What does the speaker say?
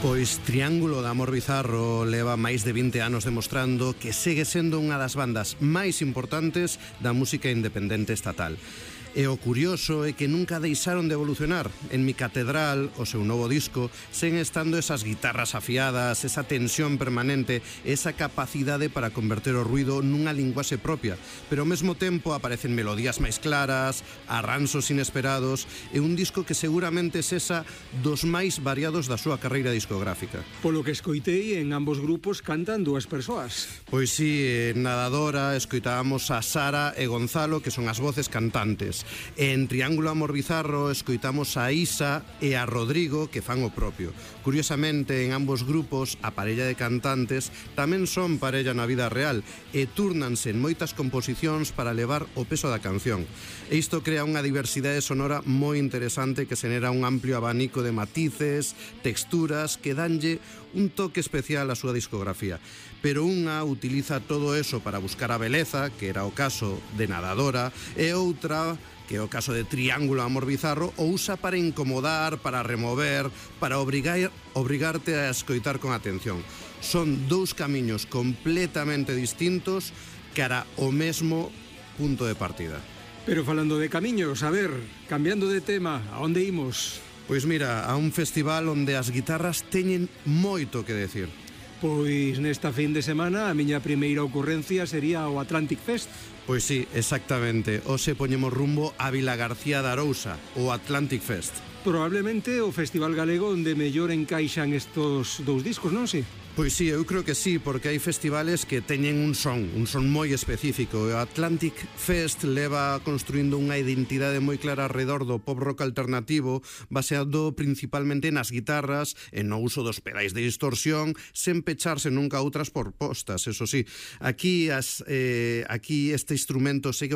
Pois Triángulo de Amor Bizarro leva máis de 20 anos demostrando que segue sendo unha das bandas máis importantes da música independente estatal. E o curioso é que nunca deixaron de evolucionar. En Mi Catedral, o seu novo disco, seguen estando esas guitarras afiadas, esa tensión permanente, esa capacidade para converter o ruido nunha linguaxe propia, pero ao mesmo tempo aparecen melodías máis claras, arranxos inesperados e un disco que seguramente sexa dos máis variados da súa carreira discográfica. Polo que escoitei, en ambos grupos cantan dúas persoas. Pois sí, en Nadadora escoitábamos a Sara e Gonzalo, que son as voces cantantes. En Triángulo Amor Bizarro escoitamos a Isa e a Rodrigo, que fan o propio. Curiosamente, en ambos grupos, a parella de cantantes tamén son parella na vida real e túrnanse en moitas composicións para levar o peso da canción. E isto crea unha diversidade sonora moi interesante que xenera un amplio abanico de matices, texturas que danlle un toque especial á súa discografía. Pero unha utiliza todo eso para buscar a beleza, que era o caso de Nadadora, e outra, que é o caso de Triángulo Amor Bizarro, o usa para incomodar, para remover, para obrigarte a escoitar con atención. Son dous camiños completamente distintos cara ao mesmo punto de partida. Pero falando de camiños, a ver, cambiando de tema, a onde imos? Pois mira, a un festival onde as guitarras teñen moito que decir. Pois nesta fin de semana a miña primeira ocurrencia sería o Atlantic Fest. Pois sí, exactamente. Hoxe poñemos rumbo a Vilagarcía de Arousa, o Atlantic Fest. Probablemente o festival galego onde mellor encaixan estos dous discos, non si? Pois sí, eu creo que sí, porque hai festivales que teñen un son moi específico. O Atlantic Fest leva construindo unha identidade moi clara alrededor do pop rock alternativo, baseado principalmente nas guitarras e no uso dos pedais de distorsión, sen pecharse nunca a outras propostas, eso sí. Aquí este instrumento segue